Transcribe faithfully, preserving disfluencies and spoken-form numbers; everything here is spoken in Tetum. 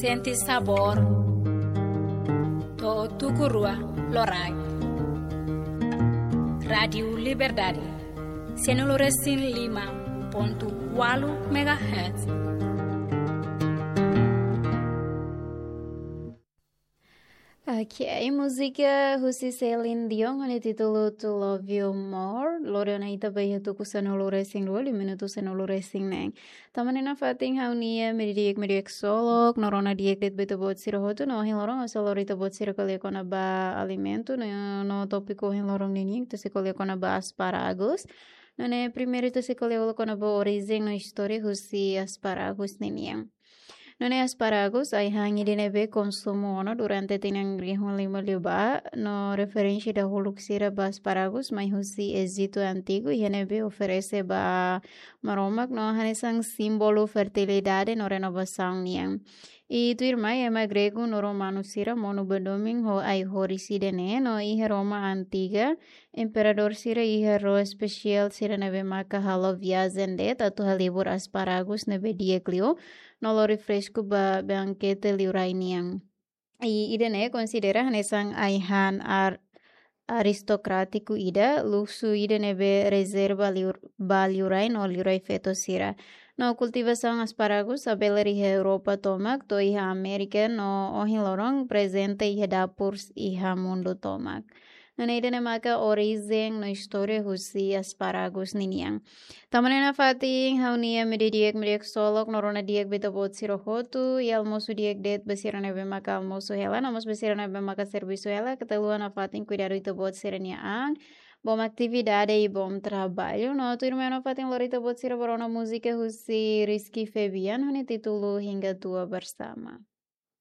Sente sabór. To'o tuku rua loraik. Rádiu Liberdade. Sanulu-resin-lima pontu ualu megahertz. Ok, múzika husi Celine Dion ho nia títulu To Love You More. Lori ona ita ba iha tuku sanulu-resin-rua, liu minutu sanulu-resin-neen. Tama ona iha fatin ha'u-nia media di'ak, media di'ak ksolok, no rona di'ak de'it ba ita-boot sira hotu, no ohin loron ha'u sei lori ita-boot sira ko'alia kona-ba alimentu, no, no tópiku ohin loron ninian ita sei ko'alia kona-ba asparagus. No ne'e primeiru ita sei ko'alia kona-ba orijen no istória husi asparagus ninian. No ne'e asparagus ai-han ida ne'ebé konsumu ona durante tinan rihun lima liubá, no referénsia dahuluk sira ba asparagus mai husi Ejitu antigu, iha ne'ebé oferese ba Maromak no hanesan símbolu fertilidade no renovasaun nian. I tuirmai ema gregu no romanu sira monu ba domin ho ai-horis ida-ne'e, no iha Roma antiga, imperadór sira iha ró espesiál sira ne'ebé maka halo viajen de'it atu halibur asparagus ne'ebé di'ak liu, no lori fresku ba bankete liurai nian. I ida-ne'e konsidera hanesan ai-han ar-, aristokrátiku ida, luksu ida ne'ebé rezerva liur-, ba liurai no liurai feto sira. No kultivasaun asparagus habelar iha Europa tomak to'o iha Amérika no ohin loron prezente iha dapur iha mundu tomak. No ne'e ida-ne'e maka orijen no istória husi asparagus ninian. Tama ona iha fatin ha'u-nia media di'ak, media di'ak ksolok, no rona di'ak ba ita-boot sira hotu, i almosu di'ak de'it ba sira ne'ebé maka almosu hela, no mós ba sira ne'ebé maka servisu hela, keta haluha nafatin kuidadu ita-boot sira-nia an, bom atividade i bom trabalho, no tuirmai nafatin lori ita-boot sira ba rona múzika husi Rizky Febian, ho nia títulu Hingga Tua Bersama.